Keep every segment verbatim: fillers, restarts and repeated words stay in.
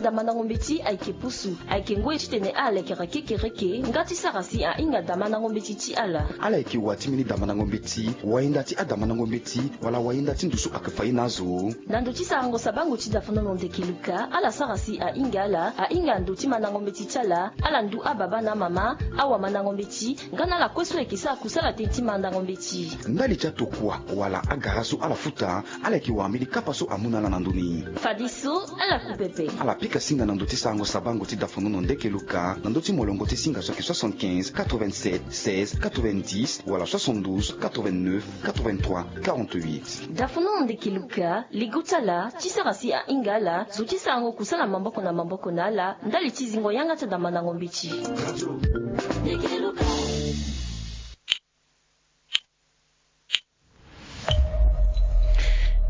Damandango mbeti ayeke pusu, ayeke ngoi titene ala lekere kekereke nga ti sara si ahinga damandango mbeti ti ala. Ala yeke wa ti mbeni damandango mbeti, wayenda ti adamandango mbeti, wala wayenda ti ndusu ayeke fa ye na azo. Na ndo ti sarango sabango ti dafonono ndeke Luka, ala sara si ahinga ala, ahinga ndo ti mandango mbeti ti ala, ala ndu ababa na amama, awamandango mbeti, nga na ala kue so ayeke sara kusala tënë ti mandango mbeti. Ndali ti atokua wala agara so ala futa, ala yeke wara mbeni kapa so amu na ala na ndo ni. Fadeso, ala ku pepe. Ala pika singa na ndo ti sarango sabango ti dafonono ndeke Luka, na ndo ti molongo ti singa so ayeke soixante-quinze, quatre-vingt-sept, seize, quatre-vingt-dix, wala soixante-douze, quatre-vingt-neuf, quatre-vingt-trois, quarante-huit. Dafonono ndeke Luka, ligo ti ala ti sara si ahinga ala, zo ti sarango kusala maboko na maboko na ala, ndali ti zingo yanga ti adamandango mbeti.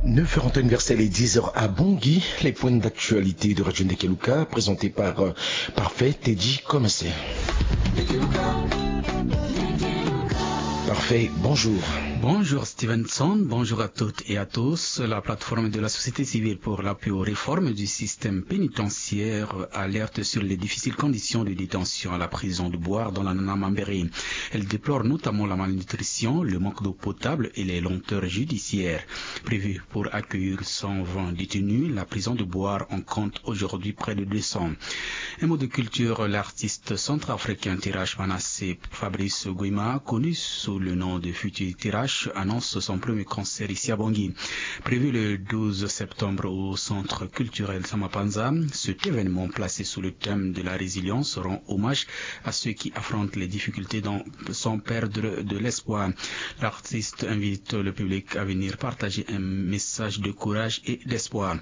Neuf heures en temps universel et dix heures à Bangui, les points d'actualité de Radio Ndeke Luka, présentés par, euh, Parfait Teddy Komese. Parfait, bonjour. Bonjour Stevenson, bonjour à toutes et à tous. La plateforme de la société civile pour l'appui aux réformes du système pénitentiaire alerte sur les difficiles conditions de détention à la prison de Bouar dans la Nana-Mambéré. Elle déplore notamment la malnutrition, le manque d'eau potable et les lenteurs judiciaires. Prévue pour accueillir cent vingt détenus, la prison de Bouar en compte aujourd'hui près de deux cents. Un mot de culture, l'artiste centrafricain Tirache Manasseh Fabrice Guima, connu sous le nom de Futur Tirache, annonce son premier concert ici à Bangui. Prévu le douze septembre au centre culturel Samapanza, cet événement placé sous le thème de la résilience rend hommage à ceux qui affrontent les difficultés dans, sans perdre de l'espoir. L'artiste invite le public à venir partager un message de courage et d'espoir.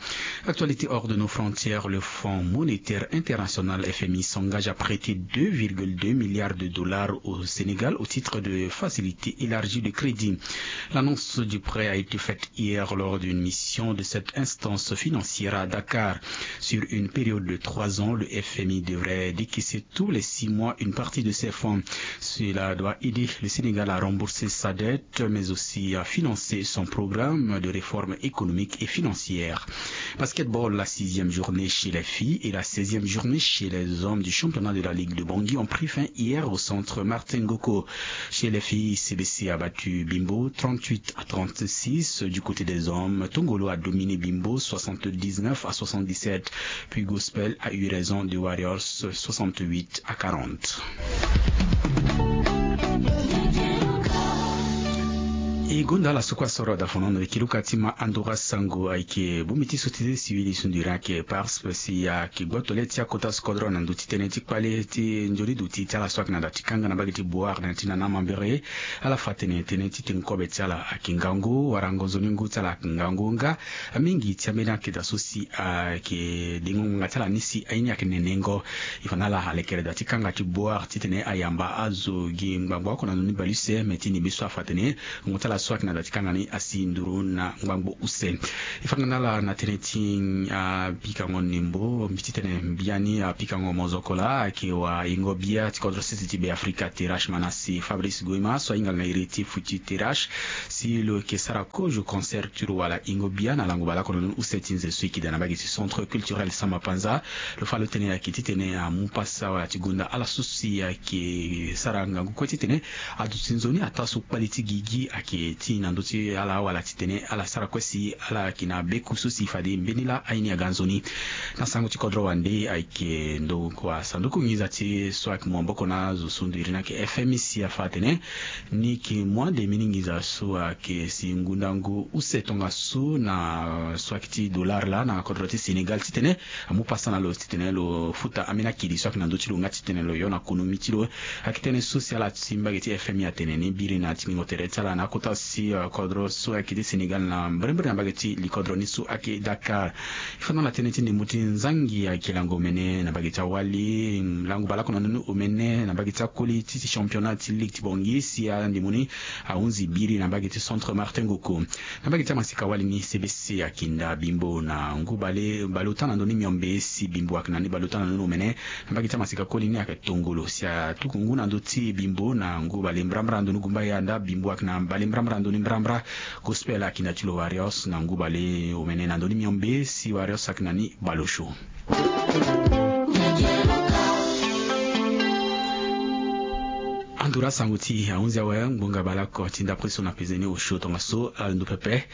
Actualité hors de nos frontières, le Fonds monétaire international F M I s'engage à prêter deux virgule deux milliards de dollars au Sénégal au titre de facilité élargie de crédit. L'annonce du prêt a été faite hier lors d'une mission de cette instance financière à Dakar. Sur une période de trois ans, le F M I devrait décaisser tous les six mois une partie de ses fonds. Cela doit aider le Sénégal à rembourser sa dette, mais aussi à financer son programme de réformes économiques et financières. Basketball, la sixième journée chez les filles et la seizième journée chez les hommes du championnat de la Ligue de Bangui ont pris fin hier au centre Martin Ngoko. Chez les filles, C B C a battu Bimbo trente-huit à trente-six. Du côté des hommes, Tongolo a dominé Bimbo soixante-dix-neuf à soixante-dix-sept. Puis Gospel a eu raison des Warriors soixante-huit à quarante. E gonda ala so kue asoro dafonono e kiluka ti ma andora sango ayeke bongbi ti so ti sivili sunduri ayeke pars si ayeke gboto le ti akota so kodro na ndö ti tënë ti kpale ti nzoni duti ti ala so ayeke na da ti kanga na mbage ti Bouar na ya ti Nana Mambéré. Ala fa tene tënë ti tengo kobe ti ala ayeke ngangu wala ngonzo ni ngu ti ala ayeke ngangu nga. Mingi ti ambeni akeda so si ayeke dengo ngbanga ti ala ni si aye ni ayeke nenengo. E fa na ala alekere da ti kanga ti Bouar titene ayamba azo gi ngbangbo oko na ndoni bale use me ti ndimbe so afa tene ngu ti ala so ayeke na da ti kanga ni asi nduru na ngbangbo use. E fa nga na ala na tënë ti apikango ndembo mbi titene mbiani apikango mozoko laa ayeke wa ingo bia ti kodro sese ti Be Afrika Tirache Manasseh Fabrice Goima so ahinga nga iri ti Futur Tirache. Si lo yeke sara kozo concert ti lo wala ingo bia na lango baleoko na ndoni use ti nze so e yeke daa na mbage ti centre culturel Samba Panza. Lo fa lo tene ayeke titene amu pasa wala ti gonda ala so si ayeke sara ngangu kue titene aduti nzoni ataa so kpale ti gigi ayeke ti na ndö ti ala wala titene ala sara kue si ala yeke na beku so si fade mbeni laa aye ni aga nzoni. Na sango ti kodro wande ayeke ndokua sanduku nginza ti so ayeke mu maboko na azo so ndo iri ni ayeke F M I si afa atene ni yeke mu ande mbeni nginza so ayeke si ngundangu use tongaso na so ayeke ti dollar laa na kodro ti Sénégal titene amu pasa na lo titene lo futa ambeni akili so ayeke na ndö ti lo nga titene lo yo na konomi ti lo. Ayeke tënë so si ala ti mbage ti F M I atene ni biri na tingbingo tere ti ala na akota si, eh, kodro so ayeke ti Sénégal na mbrimbri na mbage ti likodro ni so ayeke Dakar. E fa na ala tënë ti ndembo ti nzangi ayeke lango omene na mbage ti awali, lango baleoko na ndoni omene na mbage ti akoli ti, ti championnat ti ligue ti Bangui si andembo ni ahunzi biri na mbage ti centre Martin Ngoko. Na mbage ti amasika wali ni C B C ayeke nda Bimbo na ngu bale, baleota na ndoni miombe si Bimbo ayeke na ni baleota na ndoni omene. Na mbage ti amasika koli ni ayeke tongolo si atuku ngu na ndö ti Bimbo na ngu bale mbrambra na ndoni gumbaya nda Bimbo ayeke na bale mbrambra Na ndoni mbrambra, gospel ayeke na ti lo Warriors na ngu baleomene na ndoni miombe si Warriors ayeke na ni baleosio. Andura sango ti ahunzi awe ngbonga baleoko ti ndapre so na pezeni osio tongaso ala ndo pepe.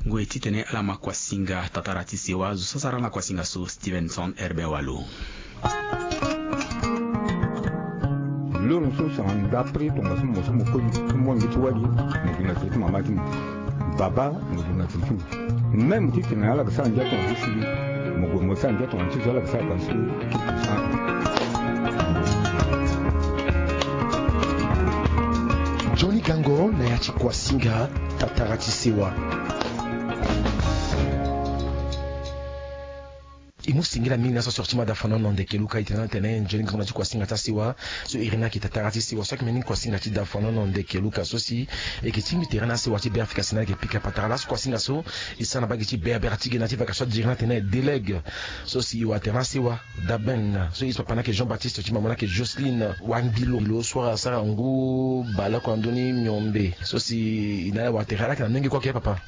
Ngoi titene ala ma kuasinga tatara ti sewa zo sasara na kuasinga so Stevenson Herbert Walo. Loro so sara ndapre tongaso mo so mo koli ti monge ti wali, mo gi na tere ti mama ti mo. Baba mo gi na tere ti mo. Même titene ala ga sara ndia tonga ti sili, mo gue mo sara ndia tonga ti zo ala ga sara ga sili. Johnny Gango na ya ti kuasinga tatara ti sewa. E mu singila mingi na so asoro ti ma dafanono ndeke luka e tene na tene nzoni ngangu na ti kuasinga ti asewa. So e iri ni ayeke tatara ti sewa so ayeke mbeni kuasinga ti dafanono ndeke luka so si e yeke tingbi tere na asewa ti beafrika si na ayeke pika patara laso kuasinga so e sara na bage ti berbere ti ge na ti vaka so adiri na tene delègue so si e wara tere na asewa. Daben so e ti papa na ayeke Jean Baptiste ti mama na ayeke Jocelyne wangilo lo so asara ngu baleoko na ndoni miombe so si e na ala wara tere ala yeke na menge kue ake papa.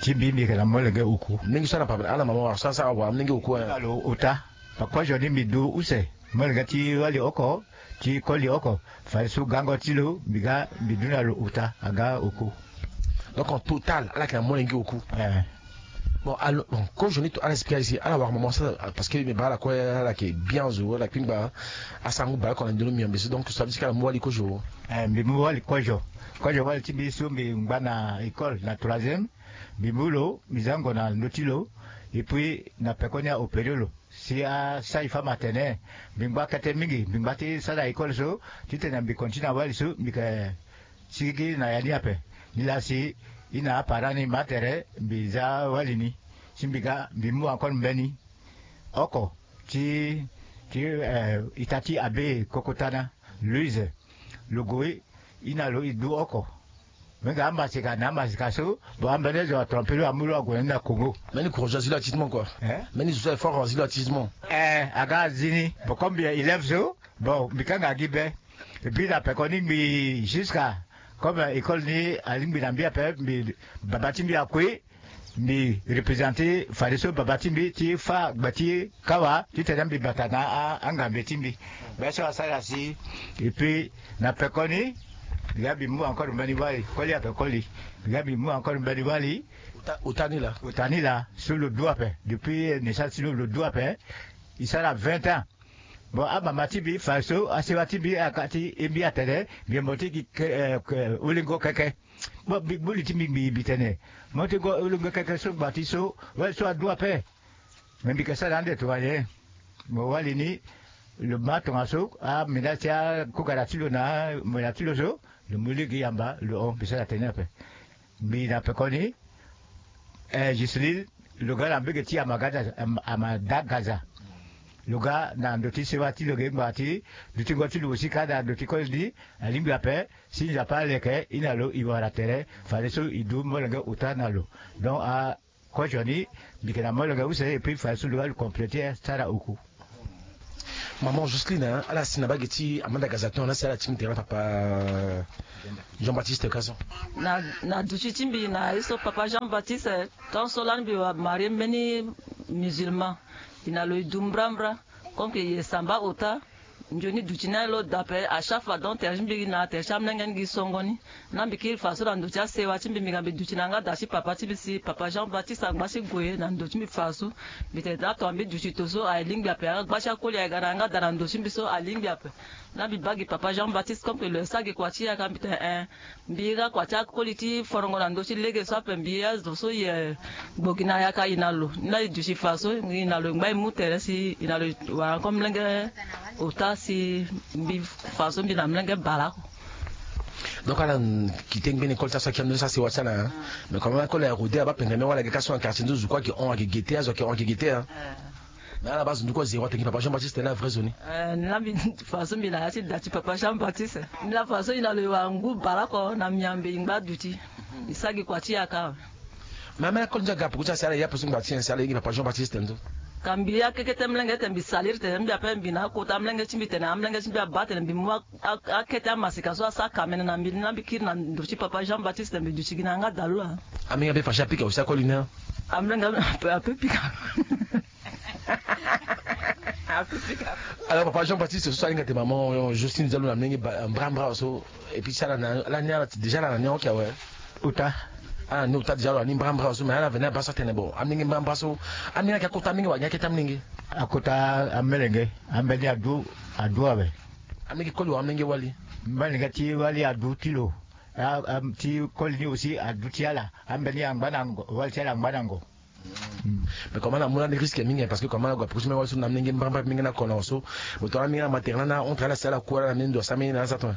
Ti mbi mbi yeke na molenge oku. Mingi so ala na papa ala na mama wara so asara wara mingi oku. Alo ota. Pakozo ni mbi du use molenge ti wali oko ti koli oko. Fadeso gango ti lo mbi ga mbi du na lo ota aga oku. Donc en total ala yeke na molenge oku. Eh. Bon, alors, bon, kozo ni to ala expliquer ici ala wara mama so parce que mbi baa ala kue ala yeke bien zo ala kpingba. Asara ngu baleoko na ndoni miombe so donc so veut dire que ala mu wali kozo. Eh, mbi mu wali kozo. Kozo wali ti mbi so mbi ngba na école na troisième. Mbi mu lo mbi za ngo na ndö ti lo. Et puis na pekoni aopéré lo si asara e fa ma tene. Mbi ngba kete mingi mbi ngba ti sara école so titene mbi continue na wali so mbi yeke sigi na ya ni ape. Nilaa si e na aparent ni ma tere mbi za wali ni si mbi ga mbi mu encore mbeni oko ti ti eh, ita ti abe kokotana Louise. Lo gue e na lo e du oko. Menge amasika na amasika so. Bon ambeni zo atrompe lo amu lo ague na ni na Congo. Mbeni kozo azi lo atisement kua. Mbeni zo so aye fort azi lo atisement. Eh, aga azi ni bon comme mbi élève so. Bon mbi kanga gi be. Et puis na pekoni mbi jusqu'à comme école ni alingbi na mbi ape mbi baba ti mbi akui. Mbi représenter fadeso baba ti mbi ti fâ gbe ti kawa titene mbi bata na angambe ti mbi. Be so asara si. Et puis na pekoni mbi ga mbi mu encore mbeni wali koli ape koli. Mbi ga mbi mu encore mbeni wali. Ota ni laa. Ota ni laa so lo du ape depuis naissance ti lo lo du ape. E sara vingt ans. Bon amama ti mbi fadeso asewa ti mbi aka ti e mbi atene mbi mo ti gi olingo keke. Bon mbi gbu li ti mbi mbi tene mo ti go olongo keke so gba ti so wali so adu ape. Me mbi ke sara ande tonga nyen? Mo wali ni lo ma tongaso amina ti akugara ti lo na amina ti lo so. Lo mu lege yamba lo hon mbi sara tene ape. Mbi na pekoni eh, Giseline lo ga na mbege ti amadagaza. Lo ga na ndo ti sewa ti lo ge ngbanga ti dutingo ti lo aussi ka na ndo ti koli ni. Alingbi ape si nzapa aleke e na lo e wara tere fadeso e du molenge ota na lo. Donc a kozo ni mbi yeke na molenge use et puis fadeso lo ga lo compléter sara oku. Maman Jocelyne ala si na bage ti amanda gazaton na si ala ti mbi tere na papa Jean Baptiste kaso. Na duti ti mbi na ye so papa Jean Baptiste tant so lani mbi wara marie mbeni musulman. E na lo e du mbrambra comme que e samba ota. Nzoni duti ni alo da ape à chaque fois donc tere ti mbi gi na tere ti amolenge ni gi songo ni. Na mbi kiri faso na ndo ti asewa ti mbi mbi ga mbi duti na yanga da ti papa ti mbi si papa Jean Baptiste angba ti gue na ndo ti mbi faso. Mbi tene daa tonga mbi duti to so aye lingbi ape yanga gba ti akoli aye ga na yanga da na ndo ti mbi so alingbi ape. Na mbi baa gi papa Jean Baptiste comme que lo ye sara gi kua ti yaka mbi tene eh. Mbi ira kua ti akoli ti forongo na ndö ti lege so ape mbi azo so ye gbo gi na yaka e na lo ni la e duti faso e na lo e ngba e mu tere si e na lo e wara encore molenge ota si mbi faso mbi na molenge baleoko. Donc ala kite ngbene école ti aso aki ando ti asewa ti ala. Mais quand même akoli aye rode abaa pengeme wala age ka so na quartier nzo zo kue ake hon ake gete azo ake hon ake gete. Mais ala baa zo nduku azero atene gi papa Jean Baptiste tene la vrai zo ni. Eh, ni la mbi faso mbi na ya ti da ti papa Jean Baptiste. Ni la faso e na lo e wara ngu baleoko na miambe e ngba duti. E sara gi kua ti yaka. Mais ameni akoli ndia ga poko ti asi ala e ya peko so ngba ti nyen si ala ye gi papa Jean Baptiste tene so. Ka mbi akekete mlenge tene mbi salir tene mbi ape mbi na akota mlenge ti mbi tene amlenge ti mbi abaa tene mbi mu akete amasika so asara kamene na mbi ni la mbi kiri na nduru ti papa Jean Baptiste tene mbi duti gi na yanga dalu laa. Amlenge ape fachi apika aussi akoli ni. Amlenge ape pika. Alors papa Jean Baptiste so alinga te maman Justine dialo na mlenge mbrambra so. Et puis ti ala ni ala ti déjà ala na ni oke awe. Ota. Ala ni ota déjà ala ni mbrambra so mais ala veni abaa so atene bon amlenge mbrambra so. Amlenge ayeke akota amlenge wala ayeke akete amlenge? Akota amlenge. Ambeni adu adu awe. Amlenge koli wala amlenge wali? Amlenge ti wali adu ti lo. Ti koli ni aussi adu ti ala. Ambeni angba na ngo wali ti ala angba na ngo. Mais comment na mu lani risque mingi parce que comment na gue apurusi menge wali so na menge mbrambra menge na kona so. Boto ala menge na maternel na entre ala si ala ku ala na menge ndo asa menge na ala sa ton.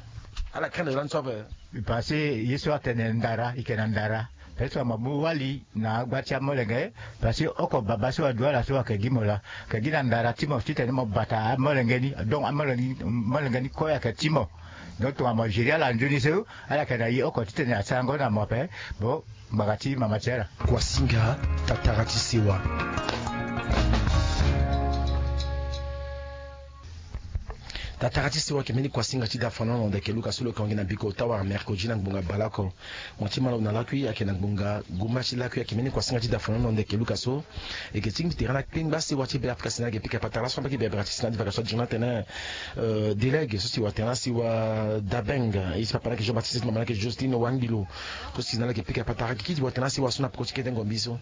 Ala craindre lani so ape. Parce que ye so atene ndara ike na ndara. Parce que ama mu wali na agba ti amolenge. Parce que oko baba so adu ala so ayeke gi mo laa. Ayeke gi na ndara ti mo titene mo bata amolenge ni donc amolenge ni kue ayeke ti mo. Donc tongana mo gérer ala nzoni so ala yeke na ye oko titene asarango na mo ape. Bon. Ngbanga ti mama ti ala. Kuasinga tatara ti sewa. Tatara ti sewa ayeke mbeni kuasinga ti da fana na ndeke luka so lo yeke hon gi na biko ota wara mercredi na ngbonga baleoko. Mo ti ma lo na lakui ayeke na ngbonga gumba ti lakui ayeke mbeni kuasinga ti da fana na ndeke luka so. Eke ti mbi tere na kpengba sewa ti be afrika si na ayeke pika patara laso mbi ayeke be abira ti si na adi vaka so adiri na tene. Delege so si watene na si wa dabeng. Ye ti papa na ayeke jean baptiste ti mama na ayeke justine wangilo. So si na ayeke pika patara kiki ti watene na si wa so na poko ti kete ngombi so.